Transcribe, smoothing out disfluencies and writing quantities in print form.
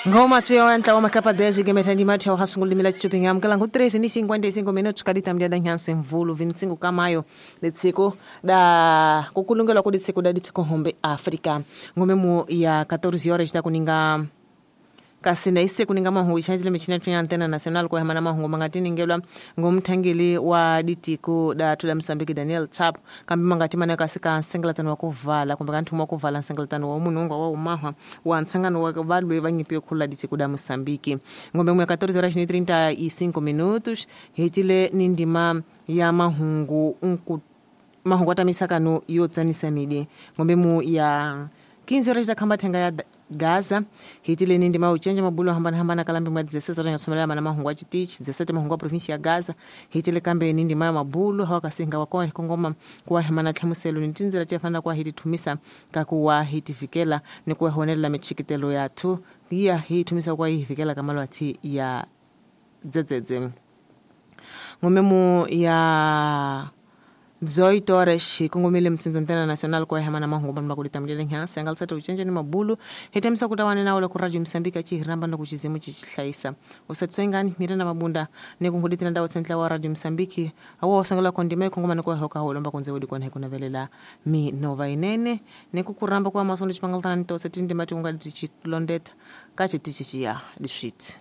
Ngoma tsuya ntlawa makapa 10 gemeta ndi mathi hasungulimila chupinga amkala ngu 3 ni 55 minutos kadita mdia da nyanse mvulu 25 kamayo letsiko da kukulungelwa ku ditsiko da ditsiko hombe Africa ngome mu ya 14 horas da kuninga kasi na ise kuninga mahungu ixanjile michina tunya antena nacional kwa hemana mahungu mangati ningelwa ngomthangeli wa ditiko da tula Msambiki Daniel Chapo kambi mangati mana kasi ka nsengelatano wa kuvala kumbe ka nthumo wa kuvala nsengelatano wa munhu wa umahwa wa ntsangano wa valwe va nyipi yo khulula ditiko da Mosambiki. Ngombe mu ya 14 horas ni 35 minutos hitile ni ndima ya mahungu nku mahungu atamisakano yo tsanisa midi ngombe mu ya 15 horas da khamba thenga ya Gaza hitile ni ndima uchenja mabulo hambana hambana kalambi mwa 16 horas ngasomelela mana mahungu a chitichi 17 mahungu a província ya Gaza hitile kambe ni ndima ya mabulo hawakasinga wakoa hikongoma kuwa hemana tlhamuselo ni tindzela tiyafana kuwa hitithumisa kakuwa hitifikela ni kuwa honelela michikitelo yathu iya hithumisa kuwa hifikela kamalwathi ya dzedzedze. Ngomemo ya 18 horas kongomile mtsinza ntena nacional kwa hemana mahungu bandu bakulitamulile nhansi angalisata uchenje ni mabulu hitemisa kutawane nawo ku radio Msambiki achihiramba na kuchizimu chichihlayisa usatsoingani mirena mabunda nikunkhuditira ndawo tsentla wa radio Msambiki awo osangela kondima ikongomana kwa hoka holomba kunze udi kwana hikunavelela minova inene nikukuramba kwa masondo chipangaltana nitose tindima tiunga tichilondeta kachitichichiya diswiti.